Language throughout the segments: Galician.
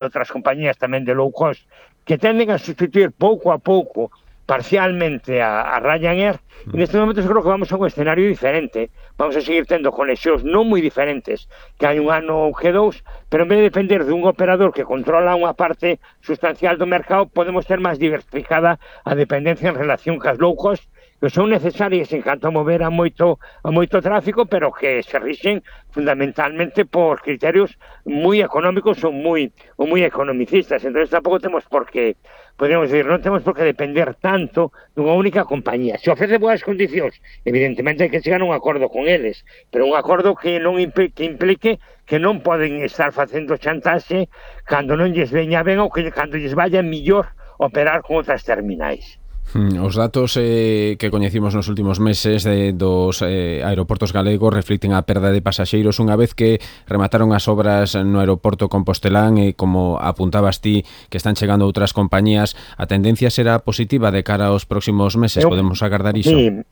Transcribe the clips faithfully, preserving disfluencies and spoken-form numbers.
outras compañías tamén de low cost que tenden a sustituir pouco a pouco parcialmente a, a Ryanair, e neste momento creo que vamos a un escenario diferente. Vamos a seguir tendo conexións non moi diferentes que hai un ano ou que dous, pero en vez de depender dun operador que controla unha parte sustancial do mercado, podemos ter máis diversificada a dependencia en relación cas low cost, que son necesarias en canto a mover a moito, a moito tráfico, pero que se rixen fundamentalmente por criterios moi económicos ou moi, ou moi economicistas. Entón, tampouco temos por que, podríamos decir, non temos por que depender tanto dunha única compañía. Se ofrece boas condicións, evidentemente hai que chegar a un acordo con eles, pero un acordo que non implique, que implique que non poden estar facendo chantaxe cando non lles veña ben ou que cando lles vaya mellor operar con outras terminais. Os datos eh, que coñecimos nos últimos meses de, dos eh, aeroportos galegos reflicten a perda de pasaxeiros unha vez que remataron as obras no aeroporto compostelán e, como apuntabas ti, que están chegando outras compañías. A tendencia será positiva de cara aos próximos meses? Eu, podemos agardar iso? Sí,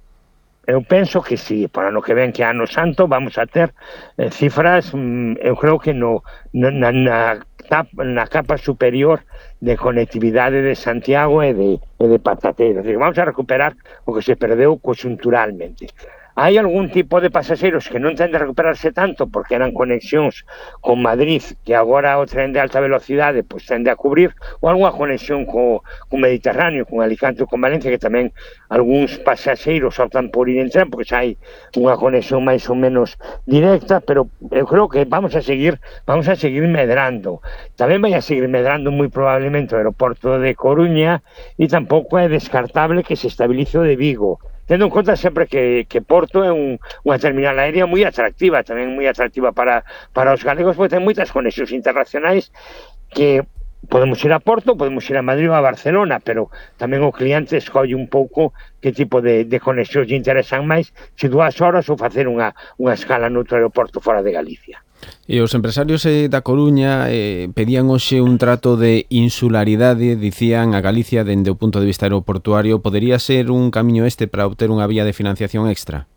eu penso que sí, para no que ven que ano santo vamos a ter eh, cifras, mm, eu creo que no, no na, na, na capa superior de conectividade de Santiago e de, e de Patatero. Vamos a recuperar o que se perdeu conxunturalmente. Hai algún tipo de pasaxeiros que non tende a recuperarse tanto porque eran conexións con Madrid, que agora o tren de alta velocidade pois tende a cubrir, ou algunha conexión co, con Mediterráneo, con Alicante ou con Valencia, que tamén algúns pasaxeiros optan por ir en tren porque xa hai unha conexión máis ou menos directa, pero eu creo que vamos a seguir vamos a seguir medrando. Tamén vai a seguir medrando moi probablemente o aeroporto de Coruña, e tampouco é descartable que se estabilice o de Vigo, tendo en conta sempre que, que Porto é un, unha terminal aérea moi atractiva, tamén moi atractiva para, para os galegos, porque ten moitas conexións internacionais que podemos ir a Porto, podemos ir a Madrid ou a Barcelona, pero tamén o cliente escolle un pouco que tipo de, de conexións lle interesan máis, se dúas horas ou facer unha, unha escala noutro aeroporto fora de Galicia. E os empresarios eh, da Coruña eh, pedían hoxe un trato de insularidade, dicían a Galicia dende o punto de vista aeroportuario. Podería ser un camiño este para obter unha vía de financiación extra?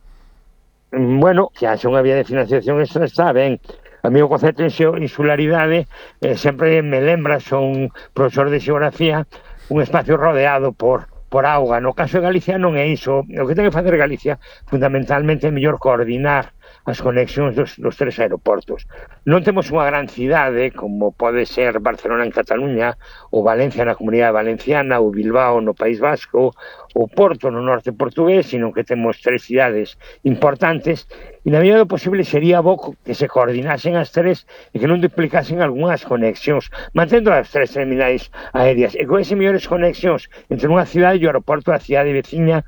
Bueno, que haxe unha vía de financiación extra está ben. A mí o concepto de insularidade eh, sempre me lembra, son profesor de xeografía, un espacio rodeado por por auga. No caso de Galicia non é iso. O que ten que facer Galicia fundamentalmente é mellor coordinar as conexións dos, dos tres aeroportos. Non temos unha gran cidade como pode ser Barcelona en Cataluña, ou Valencia na Comunidade Valenciana, ou Bilbao no País Vasco, ou Porto no norte portugués, sino que temos tres cidades importantes, e na medida do posible sería bo que se coordinasen as tres e que non duplicasen algunhas conexións, mantendo as tres terminais aéreas, e con esas mellores conexións entre unha cidade e o aeroporto da cidade veciña.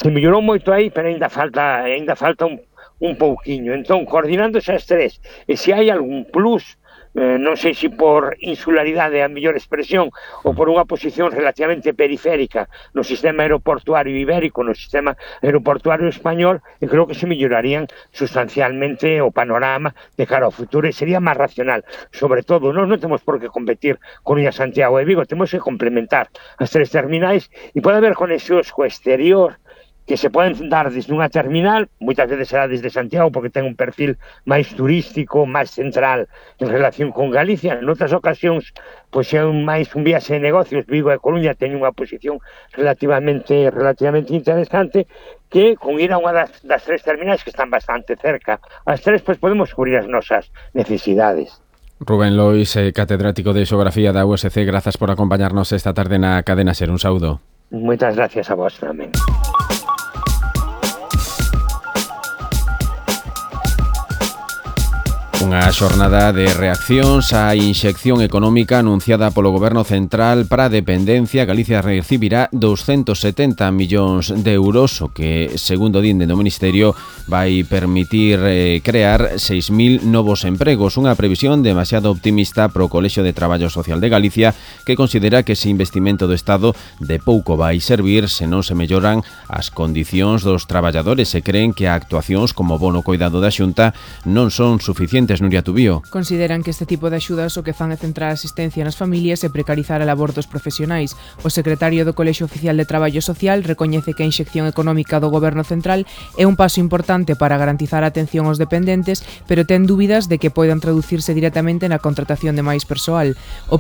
Se mellorou moito aí, pero ainda falta, ainda falta un un pouquiño. Entón, coordinándose as tres, e se hai algún plus, eh, non sei se por insularidade a mellor expresión, ou por unha posición relativamente periférica no sistema aeroportuario ibérico, no sistema aeroportuario español, e creo que se mellorarían sustancialmente o panorama de cara ao futuro, e sería máis racional. Sobre todo, nós non temos por que competir con Coruña, Santiago e Vigo, temos que complementar as tres terminais, e pode haber conexións co exterior que se poden dar desde unha terminal, moitas veces será desde Santiago porque ten un perfil máis turístico, máis central en relación con Galicia. En outras ocasións, pois é un máis un viaxe de negocios. Vigo e Coruña teñen unha posición relativamente relativamente interesante, que con ir a unha das, das tres terminais que están bastante cerca, as tres, pois podemos cubrir as nosas necesidades. Rubén Lois, eh, catedrático de Xeografía da U S C, grazas por acompañarnos esta tarde na Cadena Ser. Un saúdo. Moitas gracias a vos tamén. Unha xornada de reaccións á inxección económica anunciada polo Goberno Central para a dependencia. Galicia recibirá doscientos setenta millóns de euros, o que, segundo din do Ministerio, vai permitir eh, crear seis mil novos empregos. Unha previsión demasiado optimista pro Colexio de Traballo Social de Galicia, que considera que ese investimento do Estado de pouco vai servir se non se melloran as condicións dos traballadores, e creen que actuacións como bono coidado da Xunta non son suficientes estudantes, Nuria Tubío. Consideran que este tipo de axudas o que fan é centrar a asistencia nas familias e precarizar a labor dos profesionais. O secretario do Colexio Oficial de Traballo Social recoñece que a inxección económica do Goberno Central é un paso importante para garantizar a atención aos dependentes, pero ten dúbidas de que poidan traducirse directamente na contratación de máis persoal. O